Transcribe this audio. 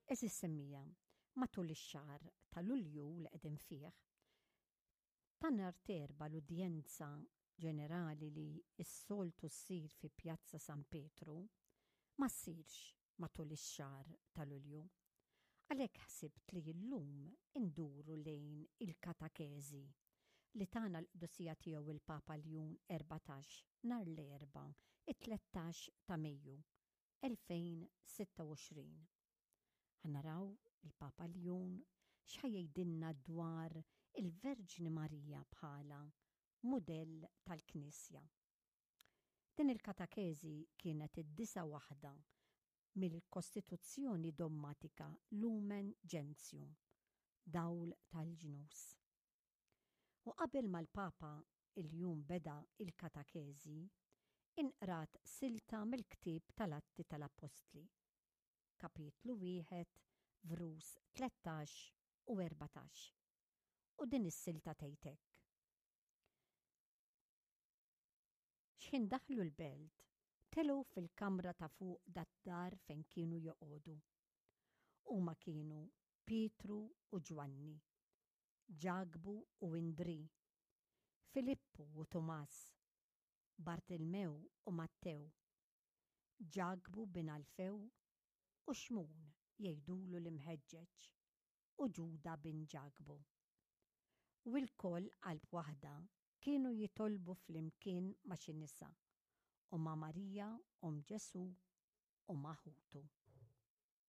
Għeżież semmiegħa, matul ix-xahar ta' Lulju li qegħdin fih, ta' nhar t'Erbgħa l-udjenza ġenerali li s-soltu ssir fi Pjazza San Pietru ma ssirx matul ix-xahar ta' Lulju. Għalhekk ħsibt li llum induru lejn il-katakeżi li tana l-Qdusija Tiegħu il-Papa Ljun 14 nhar l-Erbgħa it-13 ta' Mejju 2026. Ħa naraw il-Papa Ljun x'ħa jgħidilna dwar il-Verġni Marija bħala mudell tal-Knisja. Din il-katakeżi kienet id-disa' waħda mill-Kostituzzjoni Dommatika Lumen Gentium, Dawl tal-Ġnus. U qabel ma l-Papa l-jum beda il-katakeżi, inqrat silta mill-ktieb tal-Atti tal-Appostli, kapitlu wieħed, vrus 13 u 14. U din is-silta tgħid hekk. X'ħin daħlu l-belt, telgħu fil-kamra ta' fuq dat-dar fejn kienu joqogħdu. Huma kienu Pietru u Ġwanni, Ġakbu u Indrì, Filippu u Tumas, Bartilmew u Mattew, Ġakbu bin Alfew u Xmun jgħidulu l-imħeġġeġ, u Ġuda bin Ġakbu. U lkoll qalb waħda kienu jitolbu flimkien ma' xi nisa, u ma' Marija omm Ġesù u ma' ħutu.